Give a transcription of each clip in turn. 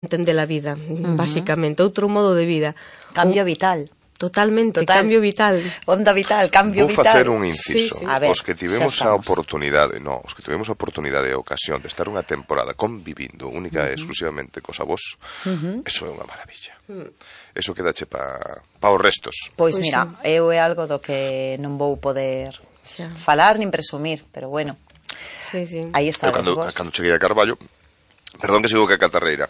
entender a vida, basicamente, outro modo de vida. Cambio vital. Totalmente, cambio vital. Onda vital, cambio vital. Vou facer un inciso. Sí. A ver, os que tivemos a oportunidade, e a ocasión de estar unha temporada convivindo única e exclusivamente cos avós, eso é unha maravilla. Eso quedache pa os restos. Pois mira, eu é algo do que non vou poder falar nin presumir, pero bueno. Sí. Aí está. Cando cheguei a Carballo, perdón que sigo que a catarreira.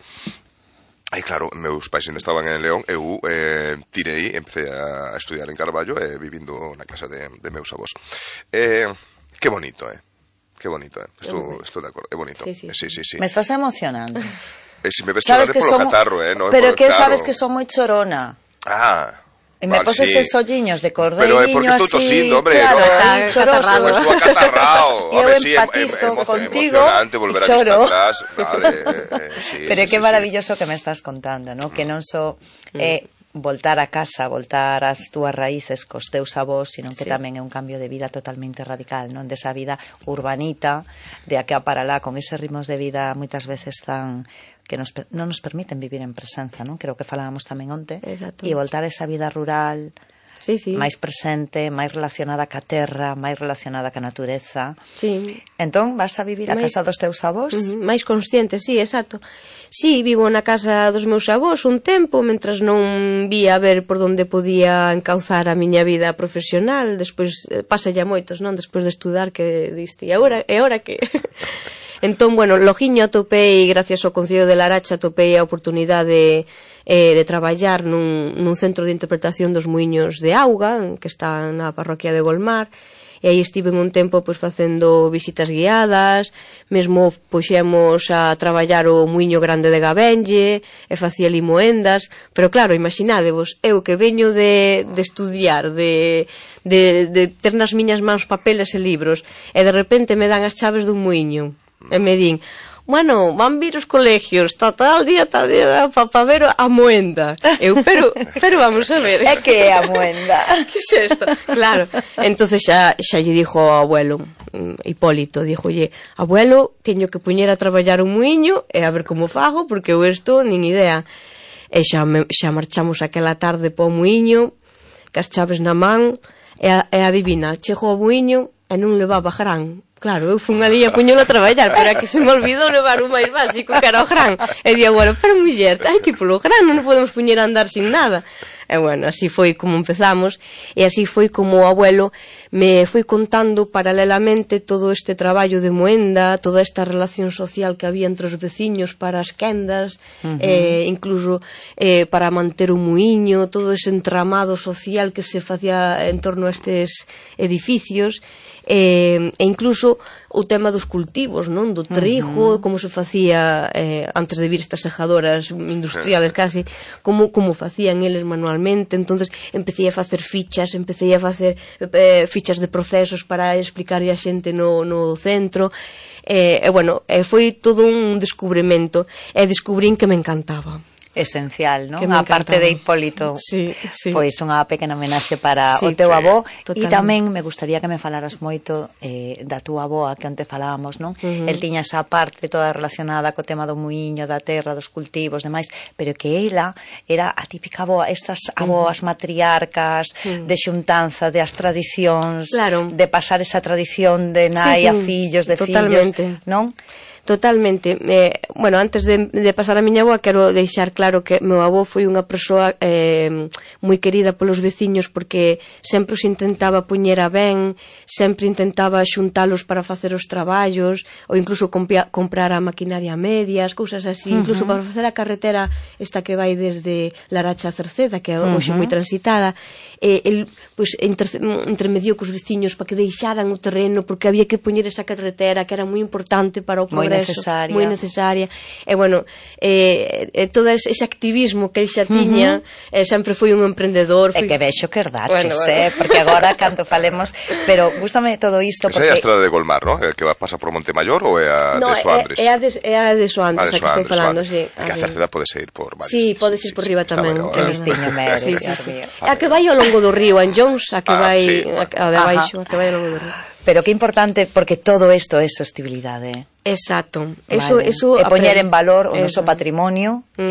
Aí, claro, meus pais ainda estaban en León, eu empecé a estudiar en Carballo vivindo na casa de meus avós. Que bonito, que bonito, estou de acordo, é bonito. Sí. Me estás emocionando. Se me ves chorar polo catarro, non? Pero que sabes que son moi chorona. E me poses esos olliños de cordeiro así. Pero é porque estou tosindo, hombre. Claro, tan choroso. Estou acatarrao. Eu empatizo contigo e choro. Pero que maravilloso que me estás contando, ¿no? Que non só voltar a casa, voltar ás túas raíces cos teus avós, sino que tamén é un cambio de vida totalmente radical, non? Desa vida urbanita, de aquí a para lá, con eses ritmos de vida moitas veces tan que non nos permiten vivir en presenza, non? Creo que falábamos tamén onte. Exacto. E voltar a esa vida rural, máis presente, máis relacionada ca terra, máis relacionada ca natureza. Sí. Entón, vas a vivir a casa dos teus avós? Máis consciente, sí, exacto. Sí, vivo na casa dos meus avós un tempo, mentras non vía a ver por onde podía encauzar a miña vida profesional. Despois, pasa ya moitos, non? Despois de estudar, que diste, e agora que... Entón, bueno, logiño atopei, gracias ao Concello de Laracha, atopei a oportunidade de traballar nun centro de interpretación dos muiños de auga, que está na parroquia de Golmar, e aí estive un tempo pois facendo visitas guiadas, mesmo puxemos a traballar o muiño grande de Gabenlle, e facía limoendas, pero claro, imaginádevos, eu que veño de estudiar, de ter nas miñas mans papeles e libros, e de repente me dan as chaves dun muiño, e me din, bueno, van vir os colegios, tal día, para ver a moenda. Eu, pero vamos a ver. É que é a moenda? Que é isto? Claro. Entonces xa lle dixo ao abuelo, Hipólito, díjolle, abuelo, teño que poñer a traballar un muiño e a ver como fago, porque eu isto nin idea. E xa marchamos aquela tarde po muiño, cas chaves na man, e adivina, chego ao muiño e non levaba gran. Claro, eu fun ali a puñelo a traballar, pero é que se me olvidou levar o máis básico, que era o gran. E di, bueno, pero muller, hai que polo gran, non podemos puñer a andar sin nada. E bueno, así foi como empezamos, e así foi como o abuelo me foi contando paralelamente todo este traballo de moenda, toda esta relación social que había entre os veciños para as quendas, incluso para manter o muiño, todo ese entramado social que se facía en torno a estes edificios, e incluso o tema dos cultivos, non? Do trigo, como se facía antes de vir estas sejadoras industriales casi, como facían eles manualmente. Entonces empecé a facer fichas de procesos para explicar a xente no centro, e bueno, foi todo un descubrimento, e descubrín que me encantaba. Esencial, non? A parte de Hipólito, pois unha pequena homenaxe para o teu avó. E tamén me gustaría que me falaras moito da túa avoa, que onte falábamos, non? El tiña esa parte toda relacionada co tema do muiño, da terra, dos cultivos, demais, pero que ela era a típica avoa, estas avoas matriarcas, de xuntanza, de as tradicións, de pasar esa tradición de nai a fillos, de fillos, non? Totalmente. Bueno, antes de pasar a miña avoa, quero deixar claro que meu avó foi unha persoa moi querida polos veciños, porque sempre os intentaba poñer a ben, sempre intentaba xuntalos para facer os traballos, ou incluso comprar a maquinaria a medias, cousas así, incluso para facer a carretera esta que vai desde Laracha a Cerceda, que é hoxe moi transitada. El intermediou cos veciños para que deixaran o terreno, porque había que poñer esa carretera que era moi importante para o progreso, moi necesaria. E bueno, todo ese activismo que el xa tiña, sempre foi un emprendedor. E que vexo que herdaches, porque agora canto falemos, pero gústame todo isto porque... Esa é a estrada de Golmar, non? Que pasa por Montemayor ou é a de Soandres? É a de Soandres, a que estou falando, sí. Que a Cerceda podes ir por varios. Sí, podes ir por riba tamén. Que listiño mero, A que vai ao longo do río, Anllóns, a que vai a de baixo, a que vai ao longo do río. Pero que importante, porque todo isto é sostibilidade. Exacto. Vale. Eso e poñer en valor o noso patrimonio